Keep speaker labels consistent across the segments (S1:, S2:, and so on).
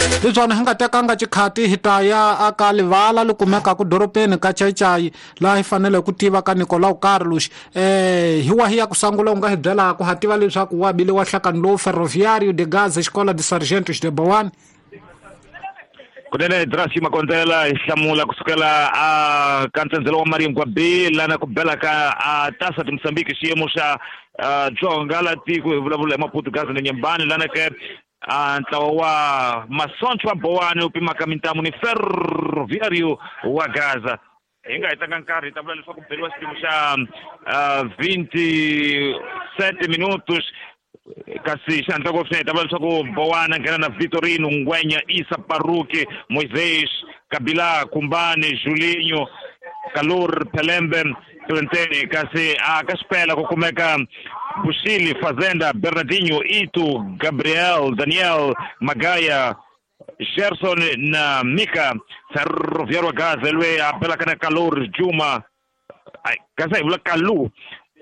S1: Leswana hi nga tekanga xikhati hi ta ya aka livala li kumekaka doropeni ka Chaichai laha hi fanele ku tiva ka Nicolau Carlos hi wahi ya ku sangula u nga hi byelaka ha tiva leswaku wa bile wa hlakani lowu Ferroviário de Gaza Escola de Sargentos de Boane.
S2: Kunene Drasi Makondzela hi hlamula kusukela a ka ntsendzelo wa Maringwa B lana ku bela ka a Taça de Moçambique xiyimo xa Dzonga la tiko hi vulavula hi Maputo Gaza na Nyembani lana ke a ntlawa wa Masoncho wa Boane wu pimaka mintamu ni Ferroviário wa Gaza. Hi nga hetanga nkarhi hi ta vula leswaku beriwa xiyimo xa 27 minutos kasi xihatla ngopfu swinene hi ta vula leswaku Bowana nghena na Vitorino Ngwenya Isa Paruki Moisés Kabila Kumbani Julinho Kalur Pelembe Clenteni kasi a ka xipela ku kumeka Bushili Fazenda Bernardinho Itu Gabriel Daniel Magaya Gerson na Mika Ferroviário wa Gaza loyi a belaka na Kalur Juma kasi hi vula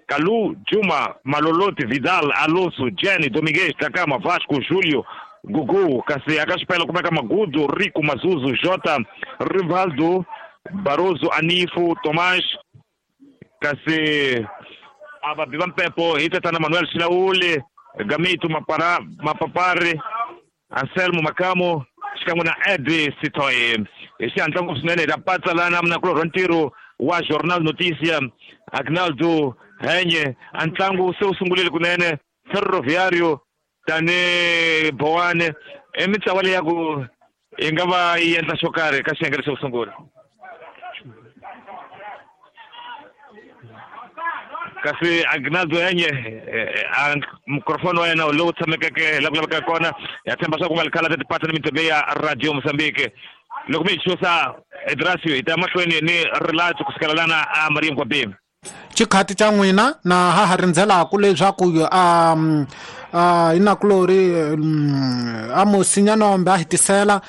S2: Kalu Juma Maloloti Vidal Alonso Jenny Dominguez Takama Vasco Julio Gugu kasi aka xipela kumeka Magudu Rico Mazuzu Jota Rivaldo Barroso Anifo Tomás kasi a vabi va mpepo hi tatana Manuel Xilauli Gamito Mapapari Anselmo Makamo xikan'we na Edi Sitoy. Hi xihatla ngopfu swinene hi ta patsa lana munakulorhi wa ntirho wa Jornal Notícia Agnaldo Henye. A ntlangu se wu sungurile kunene Ferroviário tani Boane i mitlawa leyi ya ku yi nga va yi endla xo karhi ka xiyenge lexo sungula. Kasi Agnaldo Henye a microphone wa yena lowu tshamekeke la ku lavekaka kona ya tshemba swa ku nga likhala ta tipatsa ni mintirho ya Radio Mozambique. Loko mi hi chusa Edrasio hi ta mahlweni ni rilatso kusukela lana a Maria Mkwabini.
S1: Xikhati xa n'wina na ha ha rindzelaka leswaku inakulori a Musinya-Nombe a hetisela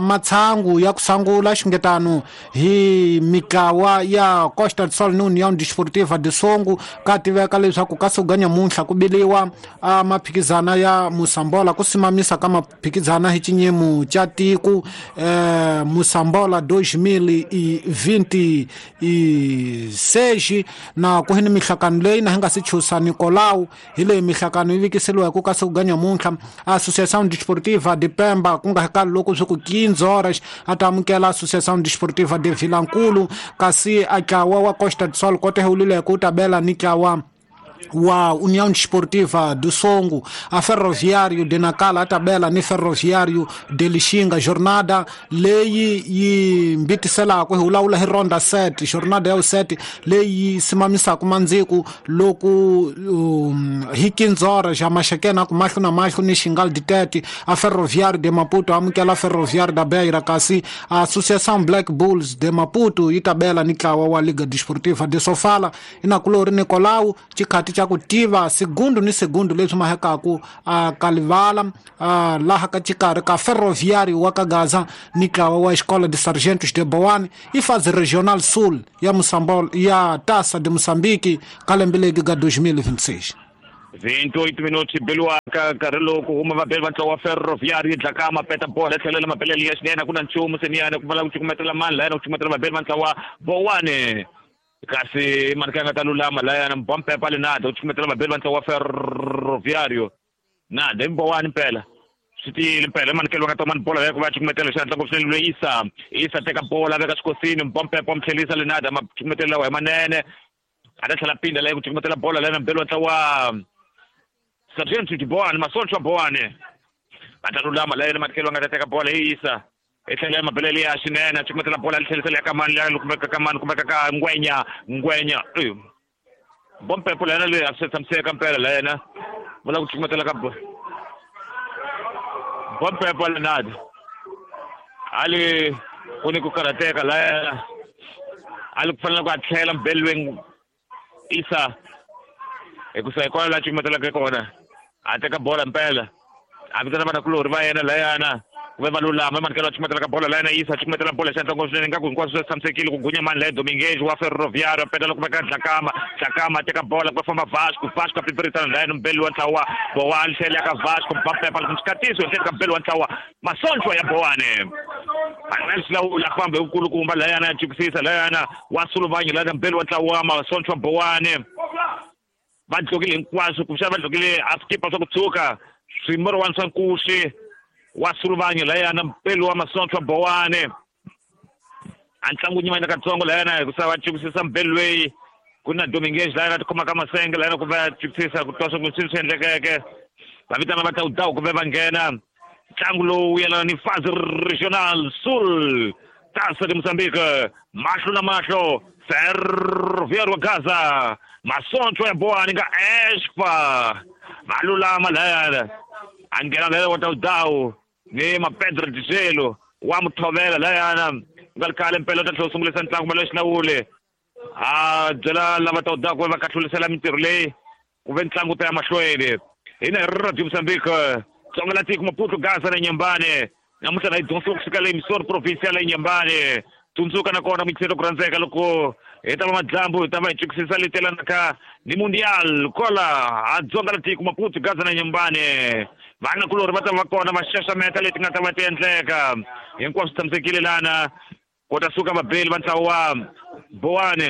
S1: matshangu ya ku sangula xingetano hi mitlawa ya Costa do Sol ni União Desportiva de Songo ka tiveka leswaku ka suka nyamuntlha ku biliwa maphikizana ya Mosambola ku simamisa ka maphikizana hi xinyimo xa tiko Mosambola 2026 na ku hi ni mihlakano leyi na hi nga si chusa Nicolau hi leyi mihlakano yi vikiseliwa ku ka suka nyamuntlha Associação Desportiva de Pemba ku nga ka loko swi ku 15 horas a ta amukela Associação Desportiva de Vilankulu kasi a ntlawa wa Costa do Sol kote hulileke u ta bela ni ntlawa wa União Desportiva do Songo. A Ferroviário de Nacala a tabela ni Ferroviário de Lixinga. Jornada leyi yi mbitiselaka hi vulavula hi ronda 7 jornada ya 7 leyi simamisaka mandziku loko hi 15 horas ja maxekena ku mahlo na mahlo ni Xingal de Tete. A Ferroviário de Maputo amukela Ferroviário da Beira kasi a Associação Black Bulls de Maputo yi tabela ni ntlawa wa Liga Desportiva de Sofala. Inakulori Nicolau xikhati xa ku tiva segundu ni segundu leswi mahekaku a kalivala laha ka xikarhi ka Ferroviário wa ka Gaza ni ntlawa wa Escola de Sargentos de Boane i fase regional sul ya Moçambola ya Taça de Moçambique ka lembe legi ka 2026.
S2: 28 minutos beliwa ka nkarhi lowu ku huma vabeli va ntlawa wa Ferroviário Dlakama peta bola tlhelela mabelele ya xinene ku na nchumu seniyana ku pfala ku cukumetela mani layana ku cukumetela vabeli va ntlawa Boane kasi mani ka nga ta lulama layana mbompepa le nada u cukumetela vabeli va ntlawa wa Ferroviário nada i Boane mpela swi tiyile mpela i manikelo va nga ta mani bola ya ku va cukumetela xihatla ngopfu swinene loyi Isa teka bola veka xikosini mbompepa wa mu tlhelisa le nada macukumetelo lawa hi manene a ta tlhela pinda leyi ku cukumetela bola layana mbeli wa ntlawa Sargento de Boane Masoncho wa Boane va ta lulama layena matikelo va nga ta teka bola hi Isa i tlhela mabelele ya xinene a cukumetela bola li tlhelisela ya kamani liya kumeka kamani kumeka ka Ngwenya bompepo layena leyi a swi tshamiseka mpela layena vula ku cukumetela ka bompepo lenadi ali ku ni ku karhateka layena ali ku fanele ku a tlhela mbelweni Isa hikusa hi kona laha cukumetelaka kona a teka bola mpela a vitana vanakulorhi va yena layana Ku ve va lulama emanikelo a cukumetela ka bola layena yisa cukumetela bola xandla ngopfu swinene ingaku hinkwaswo swi tshamisekile ku gunya mani laye Dominguez wa Ferroviário peta loko veka Dlakama Dlakama teka bola ku famba Vasco Vasco a pipirisana layena mbeli wa ntlawa Bowane tlhela ya ka Vasco Mbappe loko xikatiso hi ka mbeli wa ntlawa Masonchwa ya Bowane Manuel a famba hi vukulukumba layana ya cukisisa layana wa Suluvanya layana mbeli wa ntlawa Masonchwa Bowane va dlokile hinkwaswo kumbexana va dlokile a skipa swa ku tshuka swimorowani swa nkuxi wa Suluvanya layana mpeli wa Masonchwa Bowane a ntlangu nyimana katsongo layana hikusa va cukisisa mbeli loyi ku na Dominguez layana tikhoma ka masenge layana ku va cukisisa ku twa swa ku swilo swi endlekeke va vitana va tawutawu ku ve va nghena ntlangu lowu yelana ni Fase Regional Sul Taça de Moçambique mahlo na mahlo Ferroviário wa Gaza Masonchwa ya Bowane nga Espa malulama layana a nghena layana wa tawutawu ni Mapedro Dijelo wa muthovela layana nga ri khale mpela u ta tlhela u sungulisa ntlangu malo xilawule a byela lava tawutawu ku va kahlulisela mintirho leyi ku ve ntlangu ta ya mahlweni hina hi Radio Moçambique Tsonga la tiko Maputo Gaza na Nyambane namuntlha na yi dyondzisiwa kusuka le Missouri provincial ya Nyambane tsundzuka nakona muyingiseri ku rhandzeka loko hi ta va madyambu hi ta va hi cukisisa leti yelanaka ni Mundial kola a Dzonga la tiko Maputo Gaza na Nyambane vanakulorhi va ta va kona va xaxameta leti nga ta va ti endleka hinkwaswo swi tshamisekile lana ku ta suka vabeli va ntlawa wa Bowane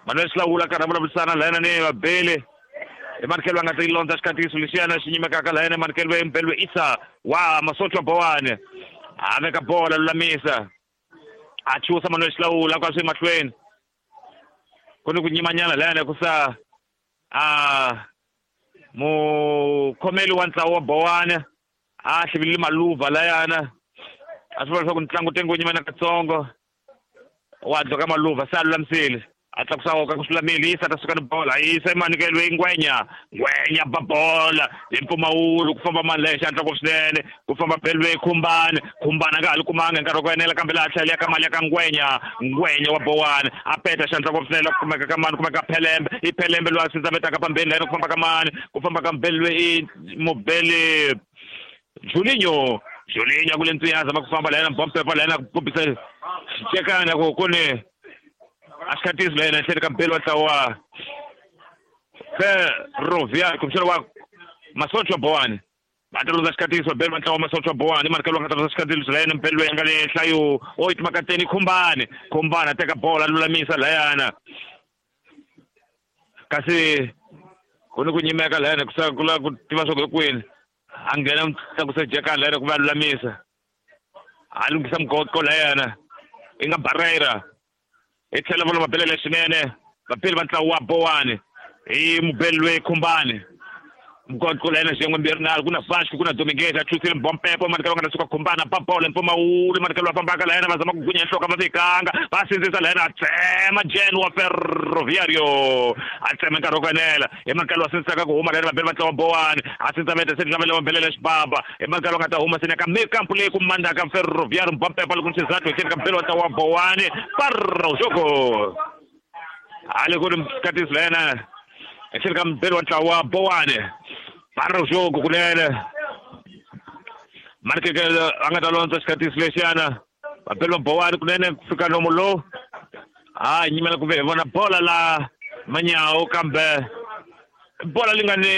S2: Manuel Xilawula karhi a vulavurisana layana ni vabeli emanikelo va nga ta yi londza xikatiso lexiyana xi nyimekaka layana emanikelo embelwe Isa wa Masonchwa Bowane a veka bola lulamisa a chusa Manuel Xilawula ka swi mahlweni ku ni ku nyimanyana layana ku sa a mukhomeli wa ntlawa wa Bowane a hlivilile maluva layana a swi vula leswaku ntlangu tengo nyimana katsongo wa dloka maluva se a lulamisile a tlakusa woka ku swi yisa ta suka ni bola yisa emanikelo ngwenya ngwenya ba bola hi mpfumawulo ku famba mani leyi xandla ngopfu swinene ku famba belwe khumbani khumbani a nga ha li kumanga hi nkarhi wa ku enela kambe laha tlhela ya ka mali ya ka ngwenya ngwenya wa Bowane a peta xandla ngopfu swinene ku kumeka ka mani kumeka phelembe i phelembe loyi a sindzametaka pambeni layena ku famba ka mani ku famba ka mbelwe i mubeli Julinho Julinho a ku le ntswiya zama ku famba layena bompepa layena ku kombisa xicekana ku ku ni a xikatiso layena ehleni ka mbeli wa ntlawa Ferroviário kumbexana wa Masonchwa Bowane va ta londza xikatiso beli va ntlawa Masonchwa Bowane manikelo va nga ta londza xikatiso layena mbeli loyi a nga le nhlayo o yi timakateni Khumbani Khumbani a teka bola a lulamisa layana kasi ku ni ku nyimeka layana ku sa ku lava ku tiva swa ku hi kwini a nghena tlakusa jekani layana ku va a lulamisa a lunghisa mugoqo layana i nga Barreira hi tlhela va mabelele swinene vapeli va ntlawa wa Bowane hi mubeli loyi Khumbani mugoqo layena xiyenge mbirhi nharhu ku na Vasco ku na Dominguez a chusile mbompepo manikelo va nga ta suka Khumbana ba bola mpfumawulo manikelo va fambaka layena va zama ku gunya nhloko va fikanga va sindzisa layena a tsema Jen wa Ferroviário a tsema nkarhi wa ku enela hi manikelo va sindzisaka ku huma layena vabeli va ntlawa wa Bowane a sindza se lavela va belele xibaba hi manikelo va nga ta huma sene ka mikampu leyi ku mandaka Ferroviário mbompepo loko xizathu hi ka mbeli wa ntlawa wa Bowane parra jogo hale ku ri katiso layena ehleni ka mbeli wa ntlawa wa Bowane parra jogo kunene manikelo a nga ta londza xikatiso lexiyana vabeli va Bowane kunene ku fika nomu lowu a nyimela ku ve hi vona bola la manyawo kambe bola li nga ni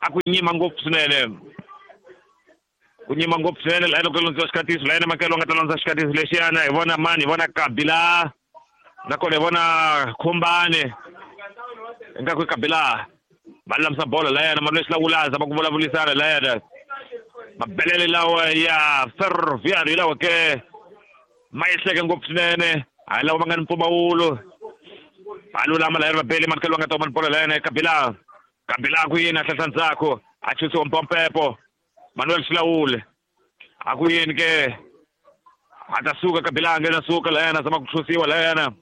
S2: a ku nyima ngopfu swinene ku nyima ngopfu swinene laha loko londziwa xikatiso layena makelo a nga ta londza xikatiso lexiyana hi vona mani hi vona Kabila nakona hi vona Khumbani ingaku i Kabila va lulamisa bola layena Manuel Xilawula zama ku vulavurisana layena mabelele lawa ya Ferroviário hi lawa ke ma yehleke ngopfu swinene hayi lawa ma nga ni mpfumawulo va lulama layena vabeli manikelo va nga ta huma ni bola layena Kabila Kabila ku yini a hlahla ndzhaku a chusiwa mpompepo Manuel Xilawule a ku yini ke a ta suka Kabila a nghena suka layena zama ku chusiwa layena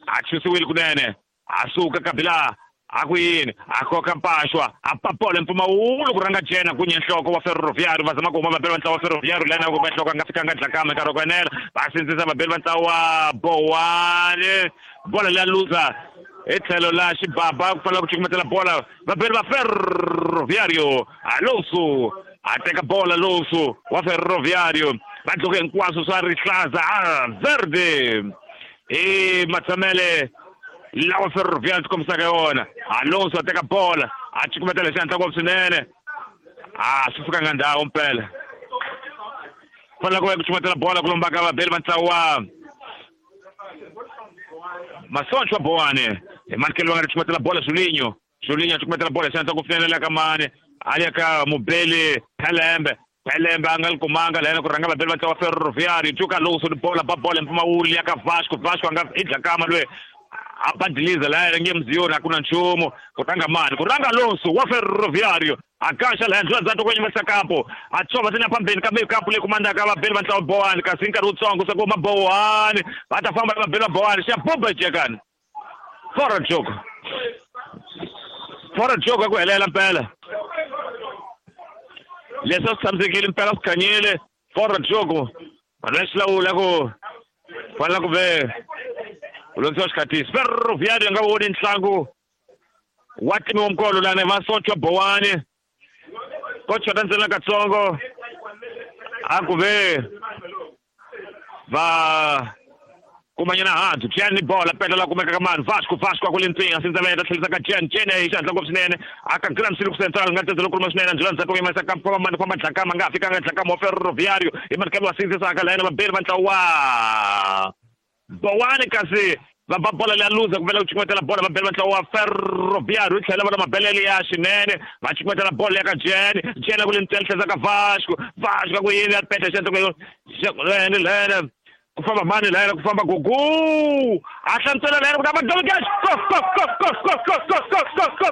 S2: a chusiwile kunene a suka Kabila a ku yini a koka mpaxwa a papola mpfumawulo ku rhanga jena ku nhloko wa Ferroviário va zama ku huma vabeli va ntlawa wa Ferroviário layena ku va nhloko a nga fikanga Dlakama nkarhi wa ku enela va sindzisa vabeli va ntlawa wa Bowane bola leya luza hi tlhelo la xibaba ku fanele ku cukumetela bola vabeli va Ferroviário Alonso A teka bola Alonso wa Ferroviário va dloke hinkwaswo swa rihlaza a verde i matshamele lawa Ferroviário tikombisaka yona. Alonso a teka bola a cukumetela xihatla ngopfu swinene a swi fikanga ndhawu mpela fanele ku va ku cukumetela bola ku lombaka vabeli va ntlawa wa Masoncho wa Boane hi manikelo va nga ri cukumetela bola Julinho Julinho a cukumetela bola xihatla ngopfu swinene le ka mani a ya ka mubeli Pelembe Pelembe a nga li kumanga lena ku rhanga vabeli va ntlawa Ferroviário Tuka Alonso ni bola ba bola mpfumawulo ya ka Vasco Vasco a nga i dlakama loyi a badiliza laya nge mziyoni a ku na nchumu ku rhanga mani ku rhanga Alonso wa Ferroviário a kaxa laya ndlela ndzhaku kwenye masakapo a tshova sina phambeni kambe kapu leyi kumandaka vabeli va ntlawa Boane kasi nkarhi wutsongo se ku maBoane va ta famba vabeli va Boane xa buba jekani fora jogo fora jogo ku helela mpela leswi a swi tshamisekile mpela swi khanyile fora jogo vanhu va xilawula ku fanele ku ve ku londzisiwa xikhatisi Ferroviário nga voni ntlangu wa timi wa mukolo lani Masoncho Boane ko chota ntsena katsongo a ku ve va kumanyana hansi Jen ni bola peta la kumeka ka mani Vasco Vasco a ku le ntsinga sindzaveta tlhelisa ka Jen Jen hi xihatla ngopfu swinene a ka Grand Silk Central nga tendze lokuluma swinene njhela ndzhaku yimisa ka famba mani famba dlakama nga fikanga dlakama wa Ferroviário hi manikelo wa sindzisaka la yena vabeli va ntlawa wa Boane kasi va ba bola leya luza ku vela ku cukumetela bola vabeli va ntlawa wa Ferroviário yi tlhela va na mabelele ya xinene va cukumetela bola ya ka Jen Jen a ku le ntsena tlhelisa ka Vasco Vasco a ku yini ya peta xihatla lene lene ku famba mani lena ku famba Gugu a hlamusela lena ku ta va Dominguez go go go go go go go go go go.